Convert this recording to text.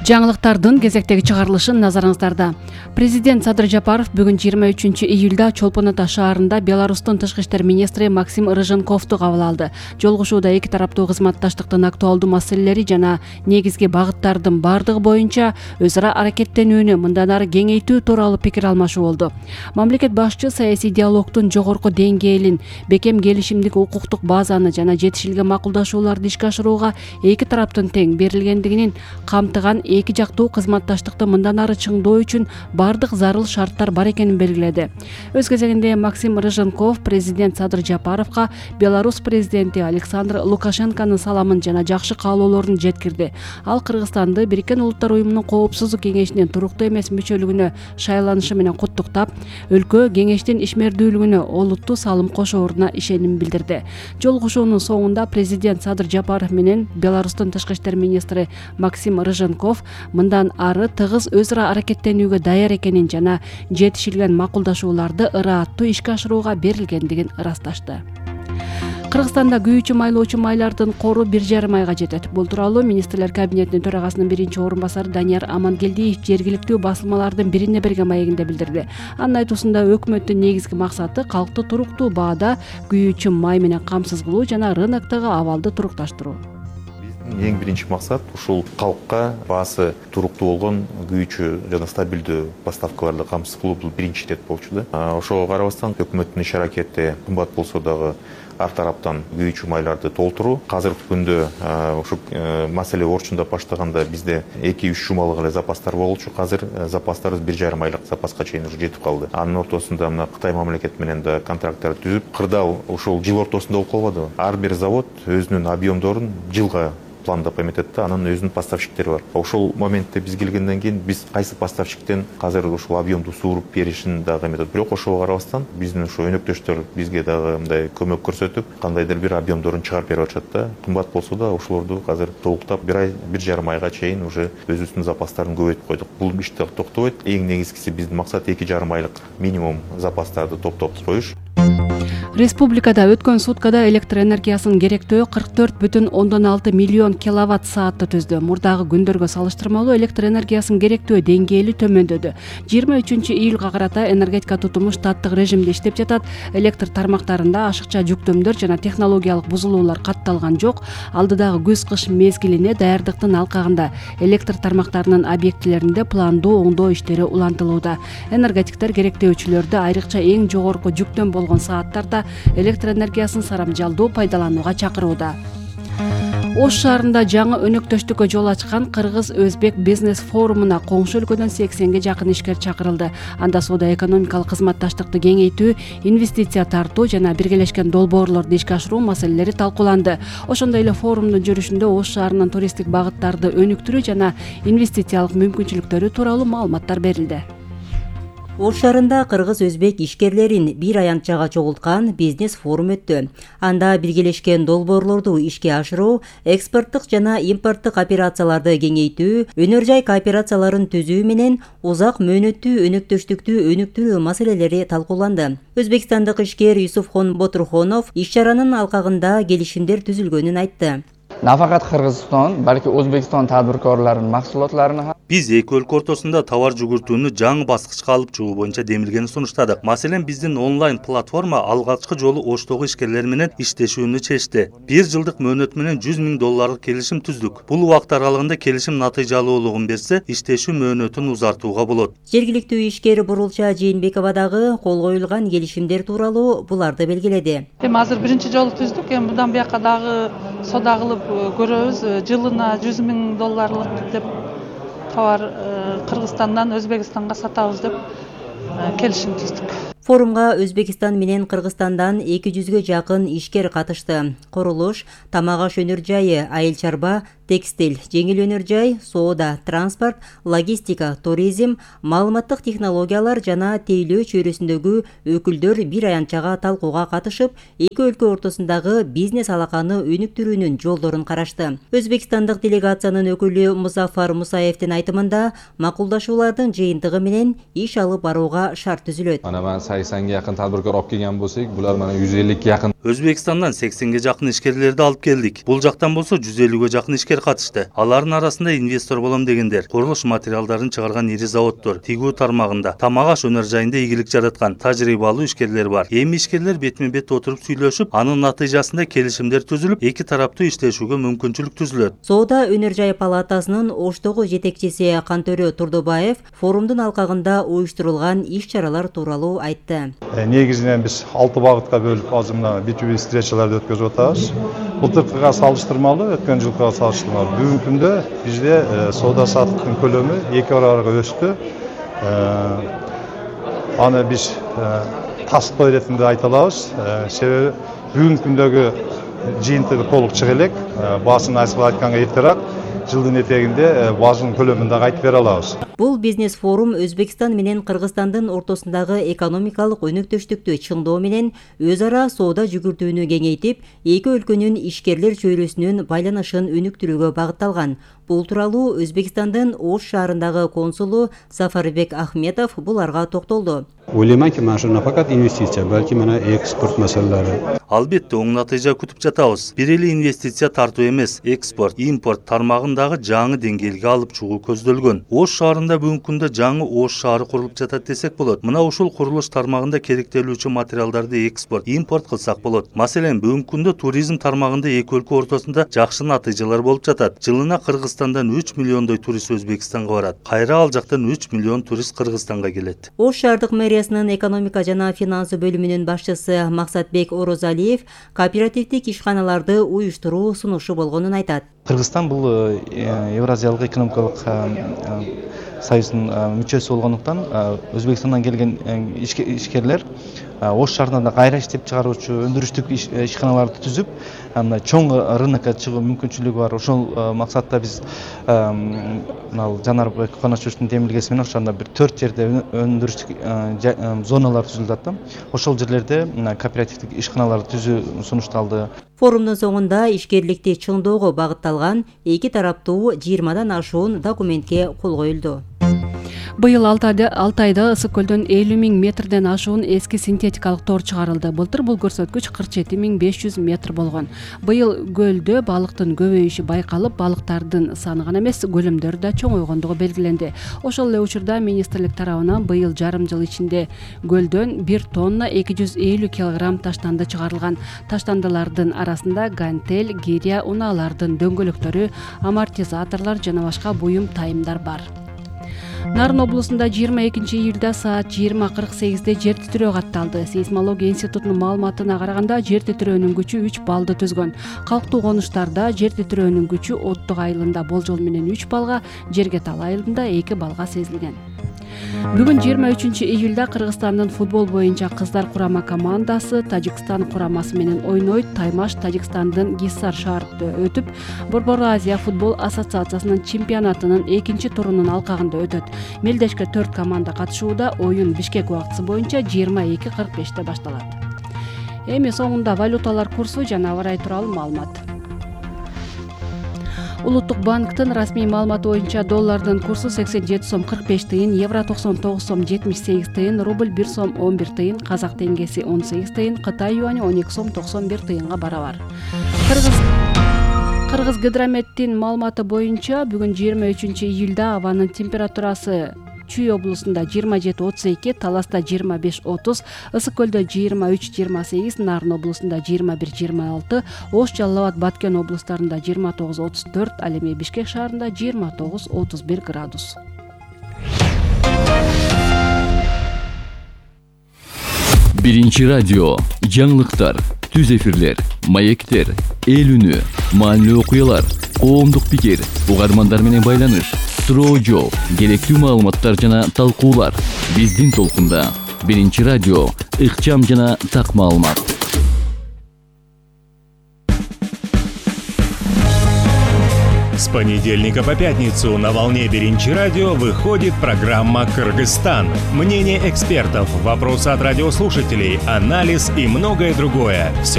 Жаңылыктардын кезектеги чыгарылышын назарыңыздарда. Президент Садыр Жапаров бүгүн 23 июлда Чолпон Ата шаарында Беларустун тышкы иштер министри Максим Рыженковду кабыл алды. Жолугушууда эки тараптуу кызматташтыктын актуалдуу маселелери жана негизги багыттардын бардыгы боюнча өз ара аракеттенүүнү мындан ары кеңейтүү тууралуу пикир алмашуу болду. Мамлекет башчы саясий диалогдун жогорку деңгээлин, бекем келишимдик укуктук базаны жана жетишилген макулдашууларды ишке ашырууга эки тараптын тең берилгендигин камтыган эки жактуу кызматташтыкты мындан ары чыңдоо үчүн бардык зарыл шарттар бар экенин белгиледи. Өз кезегинде Максим Рыженков президент Садыр Жапаровго Беларусь президенти Александр Лукашенконун саламын жана жакшы каалоолорун жеткирди. Ал Кыргызстанды Бириккен Улуттар уюмунун Коопсуздук кеңешинин туруктуу эмес мүчөлүгүнө шайланышы менен куттуктап, өлкө кеңештин ишмердүүлүгүнө олуттуу салым кошооруна ишеним билдирди. Жолугушуунун соңунда президент Садыр Жапаров менен Беларустун тышкы иштер министри Максим Рыженков мындан ары тыгыз өз ара аракеттенүүгө даяр экенин жана жетишилген макулдашууларды ырааттуу ишке ашырууга берилгендигин ырасташты. Кыргызстанда күйүүчү майлоочу майлардын кору 1,5 айга жетет. Бул тууралуу министрлер кабинетинин төрагасынын биринчи орун басары Данияр Амангелдиев жергиликтүү басылмалардын бирине берген маегинде билдирди. Анын айтуусунда өкмөттүн негизги максаты калкты туруктуу баада күйүүчү май менен камсыз кылуу жана рыноктогу абалды турукташтыруу. Эң биринчи максат ушул калкка баасы туруктуу болгон күйүүчү жана стабилдүү поставкаларды камсыз кылуу бул биринчи ирет болчу да. Ошого карабастан өкмөттүн иш аракети кымбат болсо дагы ар тараптан күйүүчү майларды толтуруу. Азыркы күндө ушу маселе орчундап баштаганда бизде 2-3 жумалык эле запастар болчу. Азыр запастарыбыз 1,5 айлык запаска чейин уже жетип калды. Анын ортосунда мына Кытай мамлекети менен да контракттар түзүп, кырдаал ушул жыл ортосунда болуп калбады. Ар бир завод өзүнүн объемдорун жылга пландап эметет да, анын өзүнүн поставщиктери бар. Ошол моментте биз келгенден кийин биз кайсы поставщиктен азыр ушул объемду сууруп беришин дагы эметет. Бирок ошого карабастан биздин ушу өнөктөштөр бизге дагы мындай көмөк көрсөтүп, кандайдыр бир объемдорун чыгарып берип атышат да. Кымбат болсо да ошолорду азыр толуктап 1,5 айга чейин уже өзүбүздүн запастарын көбөйтүп койдук. Бул иш токтобойт. Эң негизгиси биздин максат 2,5 айлык минимум запастарды топтоп коюш. Республикада өткөн суткада электр энергиясынын керектөө 44,6 миллион киловатт саатты түздү. Мурдагы күндөргө салыштырмалуу электр энергиясынын керектөө деңгээли төмөндөдү. 23 июлга карата энергетика тутуму штаттык режимде иштеп жатат. Электр тармактарында ашыкча жүктөмдөр жана технологиялык бузулуулар катталган жок. Алдыдагы күз-кыш мезгилине даярдыктын алкагында электр тармактарынын объектилеринде пландуу оңдоо иштери улантылууда. Энергетиктер керектөөчүлөрдү айрыкча эң жогорку жүктөм болгон сааттарда электр энергиясын сарамжалдуу пайдаланууга чакырууда. Ош шаарында жаңы өнөктөштүккө жол ачкан Кыргыз-Өзбек бизнес форумуна коңшу өлкөдөн 80ге жакын ишкер чакырылды. Анда соода-экономикалык кызматташтыкты кеңейтүү, инвестиция тартуу жана биргелешкен долбоорлорду ишке ашыруу маселелери талкууланды. Ошондой эле форумдун жүрүшүндө Ош шаарынын туристтик багыттарды өнүктүрүү жана инвестициялык мүмкүнчүлүктөрү тууралуу маалыматтар берилди. Ош шаарында Кыргыз-Өзбек ишкерлерин бир аянтчага чогулткан бизнес форум өттү. Анда биргелешкен долбоорлорду ишке ашыруу, экспорттук жана импорттук операцияларды кеңейтүү, өнөр жай кооперацияларын түзүү менен узак мөөнөттүү өнөктөштүктү өнүктүрүү маселелери талкууланды. Өзбекстандык ишкер Юсуфхон Ботурхонов иш-чаранын алкагында келишимдер түзүлгөнүн айтты. Нафакат Кыргызстан, балки Өзбекстан тадбиркорлорунун максулатларын биз эки өлкө ортосунда товар жүгүртүүнү жаңы баскычка алып чыгуу боюнча демилгени сунуштадык. Маселен, биздин онлайн платформа алгачкы жолу Оштогу ишкерлер менен иштешүүнү чечти. 1 жылдык мөөнөт менен $100,000 келишим түздүк. Бул убакыт аралыгында келишим натыйжалуулугун берсе, иштешүү мөөнөтүн узартууга болот. Жергиликтүү ишкер Бурулча Жээнбекова дагы кол коюлган келишимдер тууралуу буларды белгиледи. Азыр биринчи жолу түздүк, мындан бияка дагы сода кылып көрөбүз. Жылына $100,000 деп товар Кыргызстандан Өзбекстанга сатабыз деп келишим түздүк. Форумга Өзбекстан менен Кыргызстандан 200ге жакын ишкер катышты. Курулуш, тамак аш өнөр жайы, айыл чарба, текстиль, жеңил өнөр жай, соода, транспорт, логистика, туризм, маалыматтык технологиялар жана тейлөө чөйрөсүндөгү өкүлдөр бир аянтчага талкууга катышып, эки өлкө ортосундагы бизнес алаканы өнүктүрүүнүн жолдорун карашты. Өзбекстандык делегациянын өкүлү Музафар Мусаевдин айтымында макулдашуулардын жыйынтыгы менен иш алып барууга шарт түзүлөт. 80ге жакын тадбиркор алып келген болсок, булар мына 150ге жакын. Өзбекстандан 80ге жакын ишкерлерди алып келдик. Бул жактан болсо 150ге жакын ишкер ишкер катышты. Алардын арасында инвестор болом дегендер, курулуш материалдарын чыгарган ири заводдор, тигүү тармагында, тамак аш өнөр жайында ийгилик жараткан тажрыйбалуу ишкерлер бар. Эми ишкерлер бетме-бет отуруп сүйлөшүп, анын натыйжасында келишимдер түзүлүп, эки тараптуу иштешүүгө мүмкүнчүлүк түзүлөт. Соода өнөр жай палатасынын Оштогу жетекчиси Кантөрө Турдубаев форумдун алкагында уюштурулган иш-чаралар тууралуу айтты. Негизинен биз 6 багытка бөлүп азыр мына B2B встречаларды өткөзүп атабыз. Былтыркыга салыштырмалуу, өткөн жылкыга салыштырмалуу бүгүнкү күндө бизде соода саттыктын көлөмү 2 барабарга өстү. Аны биз тастоо иретинде айта алабыз. Себеби бүгүнкү күндөгү жыйынтыгы толук чыга элек. Баасын айтканга эртерээк жылдын этегинде баасынын көлөмүн дагы айтып бере алабыз. Бул бизнес форум Өзбекстан менен Кыргызстандын ортосундагы экономикалык өнөктөштүктү чыңдоо менен өз ара соода жүгүртүүнү кеңейтип, эки өлкөнүн ишкерлер чөйрөсүнүн байланышын өнүктүрүүгө багытталган. Бул тууралуу Өзбекстандын Ош шаарындагы консулу Сафарбек Ахметов буларга токтолду. Ойлойманки, mana shu nafaqat investitsiya, balki mana eksport masalalari. Албетте оң натыйжа күтүп жатабыз. Бир эле инвестиция тартуу эмес, экспорт, импорт тармагындагы жаңы деңгээлге алып чыгуу көздөлгөн. Ош шаарында бүгүнкү күндө жаңы Ош шаары курулуп жатат десек болот. Мына ушул курулуш тармагында керектелүүчү материалдарды экспорт, импорт кылсак болот. Маселен, бүгүнкү күндө туризм тармагында эки өлкө ортосунда жакшы натыйжалар болуп жатат. Жылына Кыргызстандан 3 миллиондой турист Өзбекстанга барат. Кайра ал жактан 3 миллион турист Кыргызстанга келет. Ош шаардык мэриясынын экономика жана финансы бөлүмүнүн башчысы Максатбек Орозалиев кооперативдик ишканаларды уюштуруу сунушу болгонун айтат. Кыргызстан бул Евразиялык экономикалык союздун мүчөсү болгондуктан Өзбекстандан келген ишкерлер Ош шаарында кайра иштеп чыгаруучу өндүрүштүк ишканаларды түзүп, чоң рынокко чыгуу мүмкүнчүлүгү бар. Ошол максатта биз Жанарбек Каначевичтин демилгеси менен ошондо бир 4 жерде өндүрүштүк зоналар түзүлүп атты. Ошол жерлерде кооперативдик ишканаларды түзүү сунушталды. Форумдун соңунда ишкерликти чыңдоого багытталган эки тараптуу 20дан ашуун документке кол коюлду. Быйыл 6 айда Ысык көлдөн 50 000 метрден ашуун эски синтетикалык тор чыгарылды. Былтыр бул көрсөткүч 47 500 метр болгон. Быйыл көлдө балыктын көбөйүшү байкалып, балыктардын саны гана эмес, көлөмдөрү да чоңойгондугу белгиленди. Ошол эле учурда министрлик тарабынан быйыл жарым жыл ичинде көлдөн 1 тонна 250 килограмм таштанды чыгарылган. Таштандылардын арасында гантель, гиря, унаалардын дөңгөлөктөрү, амортизаторлор жана башка буюм тайымдар бар. Нарын облусунда 22 июлда саат 20:48 жер титирөө катталды. Сейсмология институтунун маалыматына караганда жер титирөөнүн күчү 3 баллды түзгөн. Калктуу конуштарда жер титирөөнүн күчү Оттук айылында болжол менен 3 баллга, Жергетал айылында 2 баллга сезилген. Бүгүн 23 июлда Кыргызстандын футбол боюнча кыздар курама командасы Тажикстан курамасы менен ойнойт. Таймаш Тажикстандын Гиссар шаарында өтүп, Борбор Азия футбол ассоциациясынын чемпионатынын 2-турунун алкагында өтөт. Мелдешке 4 команда катышууда. Оюн Бишкек убактысы боюнча 22:45 башталат. Эми соңунда валюталар курсу жана аба ырайы тууралуу маалымат. Улуттук банктын расмий маалыматы боюнча доллардын курсу 87 сом 45 тыйын, евро 99 сом 78 тыйын, рубль 1 сом 11 тыйын, казак теңгеси 18 тыйын, Кытай юани 12 сом 91 тыйынга барабар. Кыргыз гидрометтин маалыматы боюнча бүгүн 23 июлда абанын температурасы Чүй облусунда 27-32, Таласта 25-30, Ысык көлдө 23-28, Нарын облусунда 21-26, Ош, Жалал Абад, Баткен облустарында 29-34, ал эми Бишкек шаарында 29-31 градус. Биринчи радио, жаңылыктар, түз эфирлер, маектер, эл үнү, маанилүү окуялар, коомдук пикир, угармандар менен байланыш, суроо жооп, керектүү маалыматтар жана талкуулар. Биздин толкунда Биринчи радио, ыкчам жана так маалымат. С понедельника по пятницу на волне Биринчи радио выходит программа «Кыргызстан». Мнение экспертов, вопросы от радиослушателей, анализ и многое другое. Все